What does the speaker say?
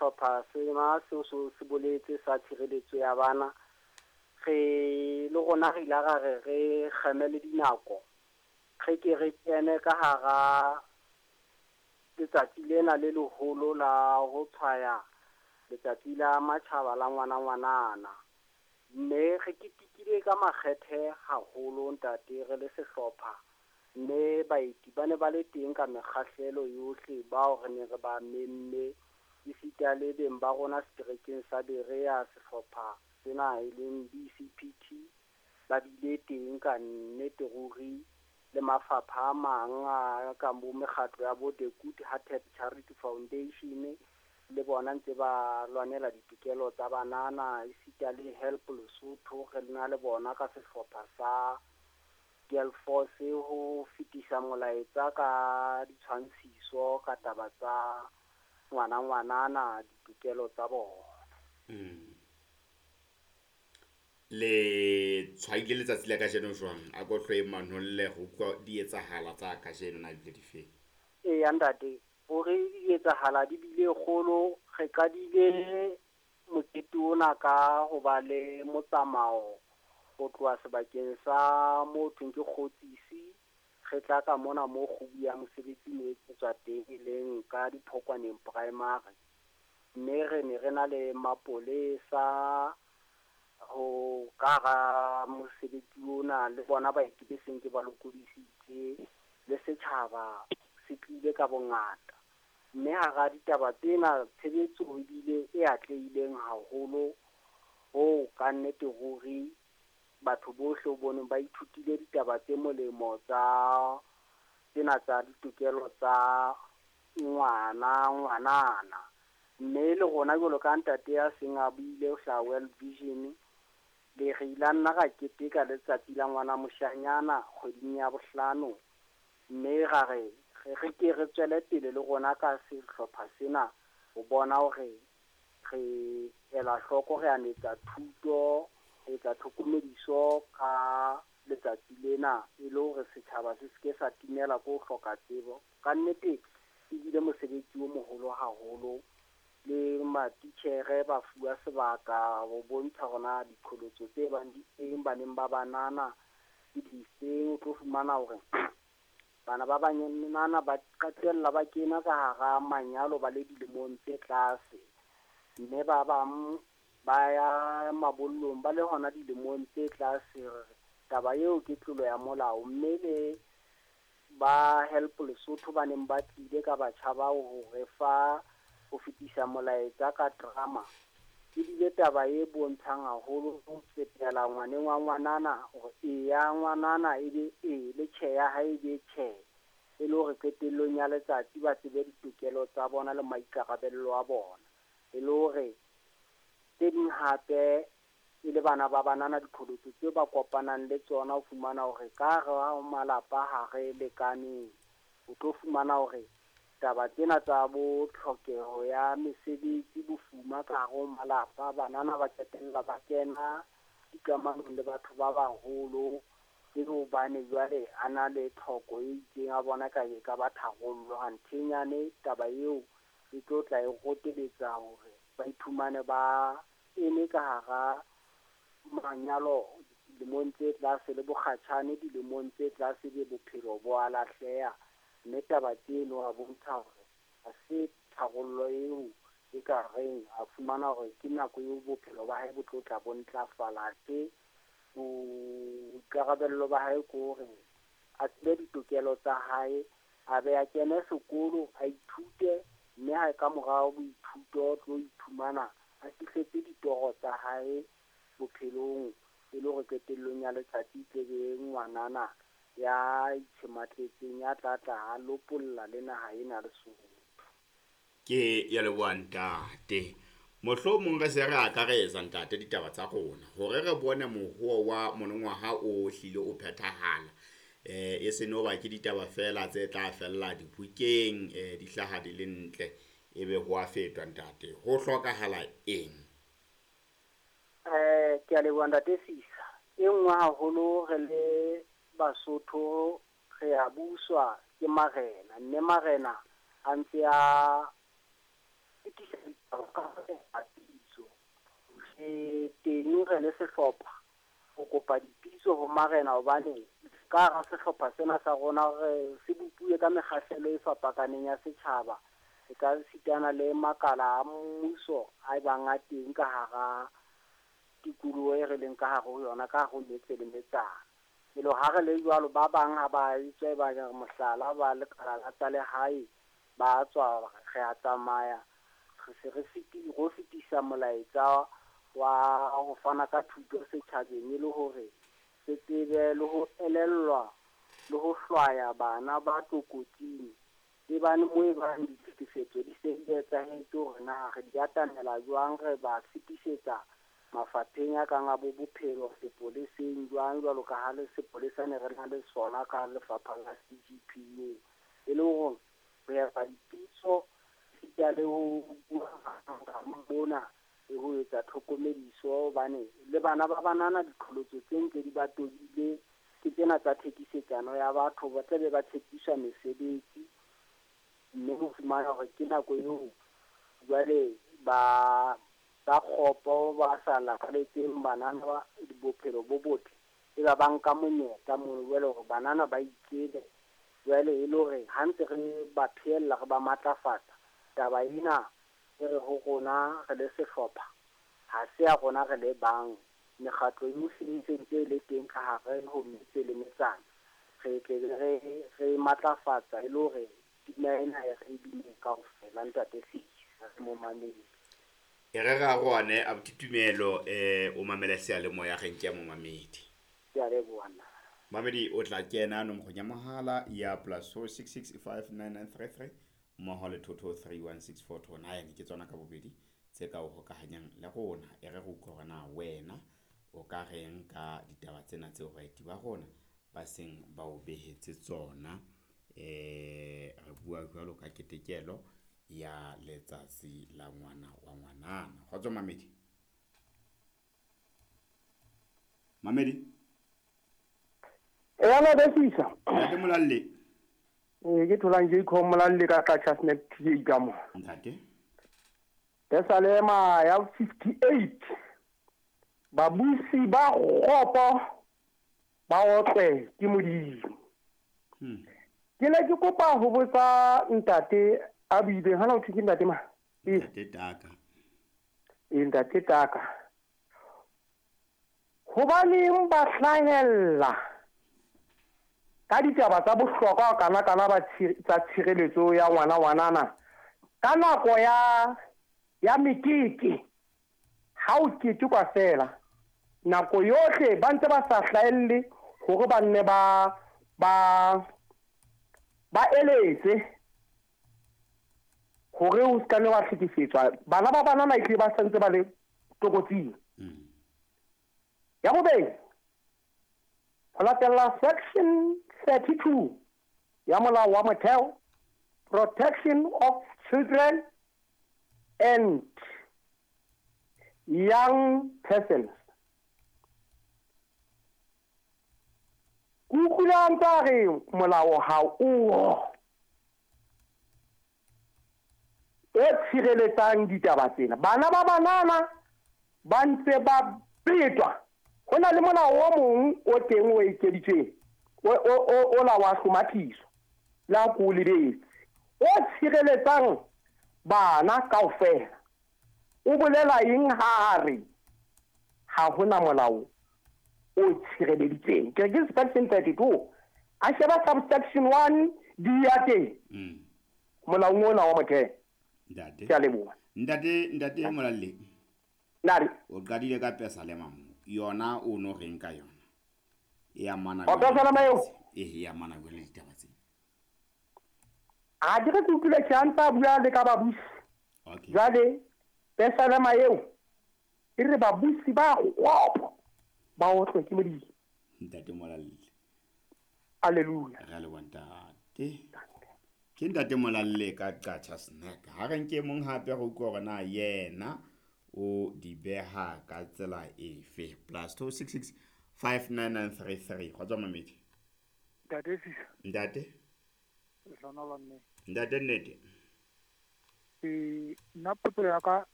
sehlopha sena seo se boletse sa tshireletso ya bana, re le rona re ile ra re re kgeme le dinako, re ke re kene ka hara letsatsi lena le leholo la ho tshwaya letsatsi la matjhaba la ngwana ngwanana. Mme re ketekile ka makgethe haholo ntate re le sehlopha, mme baeti ba ne ba le teng ka mekgahlelo yohle bao re ne re ba memme, esita le beng ba rona seterekeng sa Berea sehlopha sena e leng BCPT ba bile teng ka nnete ruri, le mafapha a mang a kang bo mekgatlo ya bo The Good Hearted Charity Foundation le bona ntse ba lwanela ditokelo tsa banana, esita le Help Lesotho re na le bona ka sehlopha sa Girl Force ho fetisa molaetsa ka ditshwantshiso ka taba tsa ngwana ngwanana ditokelo tsa bona. Le tshwaile letsatsi la kajeno jwang? A ko hloe manolle ho utlwa di etsahala tsa kajeno na ebile di feng? Eya ntate, hore di etsahala di bile kgolo, re qadile mokete ona ka ho ba le motsamao ho tloha sebakeng sa mo thweng ke Kgotsisi, re tla ka mona mo kgubu ya mosebetsi ne etsetswa teng e leng ka Diphokwaneng Primary. Mme re ne re na le mapolesa ho ka hara mosebetsi ona, le bona baeti be seng ke ba lokodisitse, le setjhaba se tlile ka bongata. Mme hara ditaba tsena tshebetso ebile e atlehileng haholo ho ka nnete ruri batho bohle o boneng ba ithutile ditaba tse molemo tsa tsena tsa ditokelo tsa ngwana ngwanana. Mme le rona jwalo ka ntate ya seng a buile ho hlaha World Vision, le re ile nna ra keteka letsatsi la ngwana moshanyana kgweding ya bohlano, mme ra re re ke re tswele pele le rona ka sehlopha sena ho bona hore re ela hloko, re anetsa thuto, re etsa tlhokomediso ka letsatsi lena e le hore setjhaba se seke sa timela ko ho hloka tsebo. Ka nnete e bile mosebetsi o moholo haholo, le matitjhere ba fuwa sebaka ho bontsha hore na diqholotso tse bang di teng baneng ba banana ke difeng. O tlo fumana hore bana ba banana ba qetella ba kena ka hara manyalo ba le dilemong tse tlase, mme ba bang ba ya mabollong ba le hona dilemong tse tlase. Taba eo ke tlolo ya molao, mme le ba Help Lesotho ba neng ba tlile ka batjha bao ho re fa ho fetisa molaetsa ka drama, ebile taba e bontshang haholo ho fetela ngwaneng wa ngwanana hore e ya ngwanana ebe e le tjhe ya hae ebe tjhe, e le hore qetellong ya letsatsi ba tsebe ditokelo tsa bona le maikarabelo a bona. E le hore tse ding hape e le bana ba banana diqholotso tse ba kopanang le tsona, ho fumana hore ka hara malapa ha re lekaneng, o tlo fumana hore taba tsena tsa bo tlhokeho ya mesebetsi, bofuma ka hare ho malapa, banana ba qetella ba kena dikamanong le batho ba baholo e le hobane jwale a na le tlhoko e itseng a bona ka e ka ba tharollo. Hanthenyane taba eo e tlo tla e roteletsa hore ba iphumane ba eme ka hara manyalo dilemong tse tlase le bokgatjhane dilemong tse tlase, be bophelo bo a lahleha. Mme taba tseno a bontsha hore ha se tharollo eo e ka reng a fumana hore ke nako eo bophelo ba hae bo tlo tla bo ntlafala. Ke boikarabello ba hae ke hore a tsebe ditokelo tsa hae, a be a kene sekolo, a ithute, mme ha ka morao boithuto tlo iphumana a fihletse ditoro tsa hae bophelong, e le hore qetellong ya letsatsi tle be ngwanana ya itshematletseng ya tla tla a lopolla le naha ena Lesotho. Ke ya leboha ntate. Mohlomong re se re akaretsa ntate ditaba tsa rona hore re bone mohoo wa monongwaha o hlile o phethahala. E se no ba ke ditaba fela tse tla fella dibukeng, di hlaha di le ntle ebe ho a fetwa ntate. Ho hlokahala eng? Ke a leboha ntate Sisa. E nngwe haholo re le Basotho re a buswa ke marena, mme marena a ntse a fetisa ditaba ka re le sehlopha ho kopa dipitso ho marena, hobane ka hara sehlopha sena sa rona re se bopuwe ka mekgahlelo e fapakaneng ya setjhaba, e ka sitana le makala a mmuso a bang a teng ka hara tikoloho e re leng ka hare ho yona, ka hare ho metse le metsana. Elo ha re le jwalo, ba bang ha ba etswe ba re mohlala ba lekala la tsa lehae ba tswa, re a tsamaya re se re ro fetisa molaetsa wa ho fana ka thuto setjhabeng, e le hore se tsebe le ho elellwa le ho hlwaya bana ba tlokotsing. E bane mo e bang ditlhekefetso di se di etsahetse, hore na re di atamela jwang, re ba fetisetsa mafapheng a kang a bo bophelo, sepoleseng jwang, jwalo ka ha le sepolesa ne re na le sona ka lefapha la CGPU. E le hore re epa dipitso esita le ho bua mona le ho etsa tlhokomediso, hobane le bana ba banana diqholotso tse ntse di ba tobile ke tsena tsa thekisetsano ya batho, ba tlabe ba tshepiswa mesebetsi, mme ho fumana hore ke nako eo jwale ba kgopo ba sa lakaletseng banana ba bophelo bo botle, e ba nka monyetla mono jwale hore banana ba itsebe. Jwale e le hore ha ntse re ba phehella, re ba matlafatsa, taba ena e re ho rona re le sehlopha ha se ya rona re le bang, mekgatlo yohle e sentse e le teng ka hare ho metse le metsana, re tle re matlafatsa e le hore pina ena e re bine kaofela. Ntate Fisa momamedi, e re ra rone abuti Tumelo, o mamele seyalemoya re nke momamedi. Ke a leboha nna. Mamedi o tla kena nomorong ya mohala ya +466 59933 mmoho le 2231649, ke tsona ka bobedi tse ka o hokahanyang le rona. E re re utlwe hore na wena o ka reng ka ditaba tsena tseo baeti ba rona ba seng ba o behetse tsona. Re bua jwalo ka ketekelo ya letsatsi la ngwana wa ngwanana. Kgotso mamedi. Mamedi. E ana besisa. Ntate Molalle. Ke tholang Jacob Molalle ka Qacha Snack TA ka mo. Ntate. Pesalema ya 58. Babusi ba kgopo ba otlwe ke Modimo. Ke ne ke kopa ho botsa ntate a buileng, hana o thwe ke ntate ma? Ntate Taka. Ntate Taka. Hobaneng ba hlahella ka ditaba tsa bohlokwa kana kana ba tsa tshireletso ya ngwana ngwanana ka nako ya mekete, ha o ketekwa fela nako yohle ba ntse ba sa hlahelle hore ba nne ba eletse hore o ska nne wa hlekefetswa. Bana ba banana ehlile ba santse ba le tlokotsing. Ya bobedi, ho latela section 32 ya molao wa motheo, Protection of Children and Young Persons. Ke utlwile a ntse a re molao ha o e tshireletsang ditaba tsena. Bana ba banana ba ntse ba betwa. Ho na le molao o mong o teng o ekeditsweng o la wa hlomathiso la ko lebetse o tshireletsang bana kaofela. O bolela eng ha a re ha hona molao o tshireleditseng? Ke ke section 32 a sheba subsection 1 di ya teng molaong ona wa motheo. Ntate. Ke a leboha. Ntate Molalle. Nare. O qadile ka pesalema mo. Yona o no reng ka yona? E amana O pesalema eo? E amana le ditaba tse. A dire ke utlwile ke a ntsa bua le ka babusi. Okay. Jwale pesalema eo e re babusi ba kgopo ba otlwe ke Modimo. Ntate Molalle. Hallelujah. Re a leboha ntate. Ke ntate Molalle ka Qacha Snack. Ha re nke mong hape re utlwe hore na yena o di beha ka tsela efe. +266 59933. Kgotso mamedi. Ntate Fisa. Ntate. Lehlohonolo mme. Ntate nnete. Nna potso ya ka